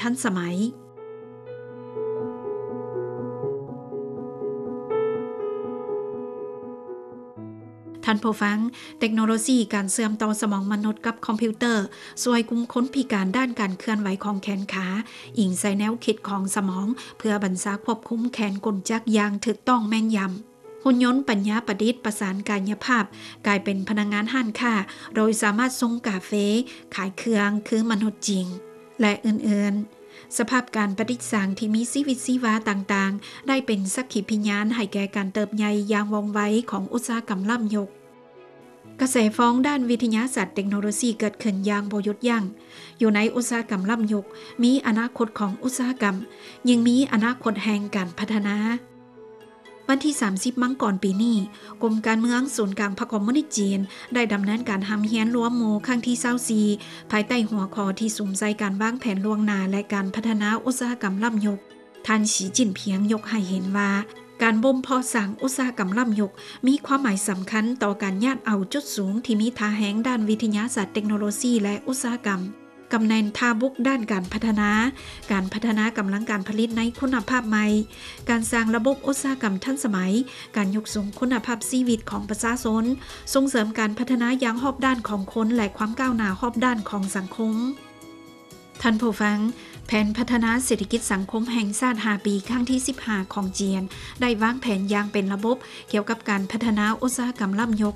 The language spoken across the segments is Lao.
ທັນສະໄໝ. ທ່ານຜູ້ຟັງ, ເຕັກໂນໂລຊີການເຊື່ອມຕໍ່ສະໝອງມະນຸດກັບຄອມພິວເຕີ ຊ່ວຍກຸ່ມຄົນພິການດ້ານການເຄື່ອນໄຫວຂອງແຂນຂາ, ອີງໃສ່ແນວຄິດຂອງສະໝອງ ເພື່ອບັນຊາຄວບຄຸມແຂນກົນຈັກຢ່າງຖືກຕ້ອງແມ່ນຢຳ. ຫຸ່ນຍົນປັນຍາປະດິດປະສານກາຍະພາບ ກາຍເປັນພະນັກງານຮ້ານຄ້າ ໂດຍສາມາດຊົງກາເຟ, ຂາຍເຄື່ອງຄືມະນຸດຈິງ ແລະ ອື່ນໆ. ສະພາບການປະດິດສ້າງທີ່ມີຊີວິດຊີວາຕ່າງໆ ໄດ້ເປັນສັກຂີພິຍານໃຫ້ແກ່ການເຕີບໃຫຍ່ຢ່າງວ່ອງໄວຂອງອຸດສາຫະກຳລ້ຳຍົກ. ກະແສຟອງດ້ານວິທະຍາສາດເຕັກໂນໂລຊີເກີດຂຶ້ນຢ່າງບໍ່ຢຸດຢັ້ງ. ຢູ່ໃນອຸດສາຫະກຳລ້ຳຍຸກ, ມີອະນາຄົດຂອງອຸດສາຫະກຳ, ຍິ່ງມີອະນາຄົດແຫ່ງການພັດທະນາ. ວັນທີສາມສິບມັງກອນປີນີ້, ກົມການເມືອງສູນກາງພັກຄອມມູນິດຈີນ ໄດ້ດຳເນີນການຮ່ຳຮຽນລວມໝູ່ຄັ້ງທີຊາວສີ່ ພາຍໃຕ້ຫົວຂໍ້ທີ່ສຸມໃສ່ການວາງແຜນລ່ວງໜ້າ ແລະ ການພັດທະນາອຸດສາຫະກຳລ້ຳຍຸກ. ທ່ານ ສີ ຈິ້ນຜິງ ຍົກໃຫ້ເຫັນວ່າ ການບົ່ມເພາະສ້າງອຸດສາຫະກຳລ້ຳຍຸກ ມີຄວາມໝາຍສຳຄັນຕໍ່ການຍາດເອົາຈຸດສູງທີ່ມີທ່າແຮງດ້ານວິທະຍາສາດເຕັກໂນໂລຊີ ແລະ ອຸດສາຫະກຳ, ກຳແໜ່ງທ່າບຸກດ້ານການພັດທະນາ, ການພັດທະນາກຳລັງການຜະລິດໃນຄຸນນະພາບໃໝ່, ການສ້າງລະບົບອຸດສາຫະກຳທັນສະໄໝ, ການຍົກສູງຄຸນນະພາບຊີວິດຂອງປະຊາຊົນ, ສົ່ງເສີມການພັດທະນາຢ່າງຮອບດ້ານຂອງຄົນ ແລະ ຄວາມກ້າວໜ້າຮອບດ້ານຂອງສັງຄົມ. ທ່ານຜູ້ຟັງ, ແຜນພັດທະນາເສດຖະກິດສັງຄົມແຫ່ງຊາດຫ້າປີ ຄັ້ງທີສິບຫ້າຂອງຈີນ ໄດ້ວາງແຜນຢ່າງເປັນລະບົບກ່ຽວກັບການພັດທະນາອຸດສາຫະກຳລ້ຳຍຸກ,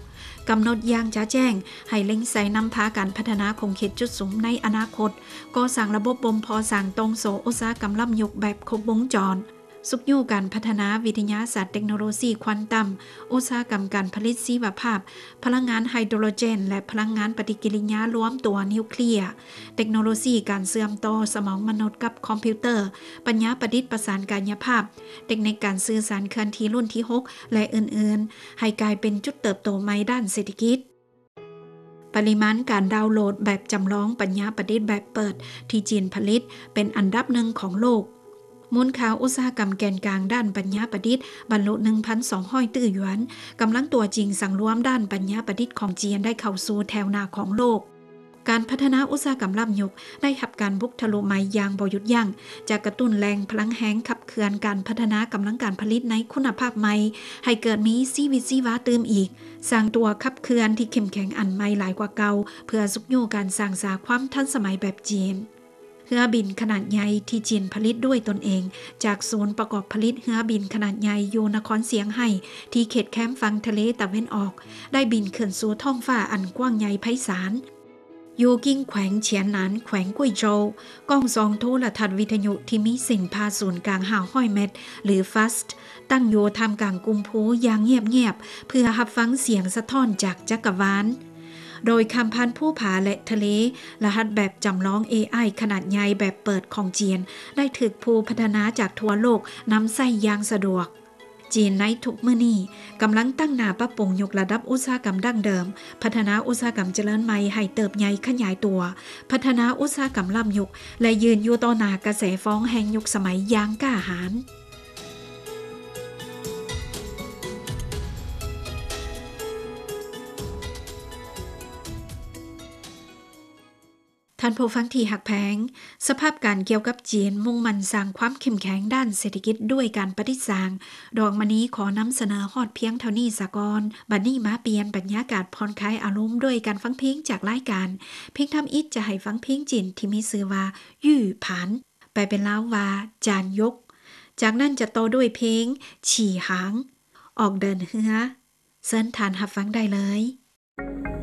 ກຳນົດຢ່າງຈະແຈ້ງໃຫ້ເລັ່ງໃສ່ນຳພາການພັດທະນາຂົງເຂດຈຸດສຸມໃນອະນາຄົດ, ກໍ່ສ້າງລະບົບບົ່ມເພາະສ້າງຕ່ອງໂສ້ອຸດສາຫະກຳລ້ຳຍຸກແບບຄົບວົງຈອນ, ຊຸກຍູ້ການພັດທະນາວິທະຍາສາດເຕັກໂນໂລຊີຄວອນຕັມ, ອຸດສາຫະກຳການຜະລິດຊີວະພາບ, ພະລັງງານໄຮໂດຣເຈນ ແລະ ພະລັງງານປະຕິກິລິຍາລວມຕົວນິວເຄລຍ, ເຕັກໂນໂລຊີການເຊື່ອມຕໍ່ສະໝອງມະນຸດກັບຄອມພິວເຕີ, ປັນຍາປະດິດປະສານກາຍະພາບ, ເຕັກນິກການສື່ສານເຄື່ອນທີ່ລຸ້ນທີຫົກ ແລະ ອື່ນໆ, ໃຫ້ກາຍເປັນຈຸດເຕີບໂຕໃໝ່ດ້ານເສດຖະກິດ. ປະລິມານການດາວໂຫຼດແບບຈຳລອງປັນຍາປະດິດແບບເປີດທີ່ຈີນຜະລິດເປັນອັນດັບໜຶ່ງຂອງໂລກ. ມູນຄ່າອຸດສາຫະກຳແກນກາງດ້ານປັນຍາປະດິດບັນລຸໜຶ່ງພັນສອງຮ້ອຍຕື້ຢວນ, ກຳລັງຕົວຈິງສັງລວມດ້ານປັນຍາປະດິດຂອງຈີນໄດ້ເຂົ້າສູ່ແຖວໜ້າຂອງໂລກ. ການພັດທະນາອຸດສາຫະກຳລ້ຳຍຸກໄດ້ຮັບການບຸກທະລຸໃໝ່ຢ່າງບໍ່ຢຸດຢັ້ງ, ຈະກະຕຸ້ນແຫຼ່ງພະລັງແຮງຂັບເຄື່ອນການພັດທະນາກຳລັງການຜະລິດໃນຄຸນນະພາບໃໝ່ ໃຫ້ເກີດມີຊີວິດຊີວາຕື່ມອີກ, ສ້າງຕົວຂັບເຄື່ອນທີ່ເຂັ້ມແຂງອັນໃໝ່ຫຼາຍກວ່າເກົ່າ ເພື່ອຊຸກຍູ້ການສ້າງສາຄວາມທັນສະໄໝແບບຈີນ. ເຮືອບິນຂະໜາດໃຫຍ່ທີ່ຈີນຜະລິດດ້ວຍຕົນເອງ ຈາກສູນປະກອບຜະລິດເຮືອບິນຂະໜາດໃຫຍ່ຢູ່ນະຄອນຊຽງໄຮ້ ທີ່ເຂດແຄມຝັ່ງທະເລຕາເວັນອອກ ໄດ້ບິນຂຶ້ນສູ່ທ້ອງຟ້າອັນກວ້າງໃຫຍ່ໄພສານ. ຢູ່ກິ້ງແຂວງຊຽນໜານ ແຂວງກຸ້ຍໂຈວ, ກ້ອງສ່ອງໂທລະທັດວິທະຍຸທີ່ມີເສັ້ນຜ່າສູນກາງຫ້າຮ້ອຍແມັດ ຫຼື FAST ຕັ້ງຢູ່ທ່າມກາງກຸ່ມພູຢ່າງງຽບໆ ເພື່ອຮັບຟັງສຽງສະທ້ອນຈາກຈັກກະວານ. ໂດຍຂ້າມຜ່ານພູຜາ ແລະ ທະເລ, ລະຫັດແບບຈຳລອງ ເອໄອ ຂະໜາດໃຫຍ່ແບບເປີດຂອງຈີນ ໄດ້ຖືກຜູ້ພັດທະນາຈາກທົ່ວໂລກນຳໃຊ້ຢ່າງສະດວກ. ຈີນໃນທຸກມື້ນີ້ກຳລັງຕັ້ງໜ້າປັບປຸງຍົກລະດັບອຸດສາຫະກຳດັ້ງເດີມ, ພັດທະນາອຸດສາຫະກຳຈະເລີນໃໝ່ໃຫ້ເຕີບໃຫຍ່ຂະຫຍາຍຕົວ, ພັດທະນາອຸດສາຫະກຳລ້ຳຍຸກ ແລະ ຢືນຢູ່ຕໍ່ໜ້າກະແສຟອງແຫ່ງຍຸກສະໄໝຢ່າງກ້າຫານ. ທ່ານຜູ້ຟັງທີ່ຮັກແພງ, ສະພາບການກ່ຽວກັບຈີນມຸ່ງໝັ້ນສ້າງຄວາມເຂັ້ມແຂງດ້ານເສດຖະກິດດ້ວຍການປະດິດສ້າງ ດອກມະນີຂໍນຳສະເໜີຮອດພຽງເທົ່ານີ້ສາກ່ອນ. ບັດນີ້ມາປ່ຽນບັນຍາກາດຜ່ອນຄາຍອາລົມດ້ວຍການຟັງເພງຈາກລາຍການ. ເພງທຳອິດຈະໃຫ້ຟັງເພງຈີນທີ່ມີຊື່ວ່າ ຫຍື່ຜານ ແປເປັນລາວວ່າ ຈານຍົກ. ຈາກນັ້ນຈະຕໍ່ດ້ວຍເພງ ຂີ່ຫາງ ອອກເດີນເຮືອ. ເຊີນທ່ານຮັບຟັງໄດ້ເລີຍ.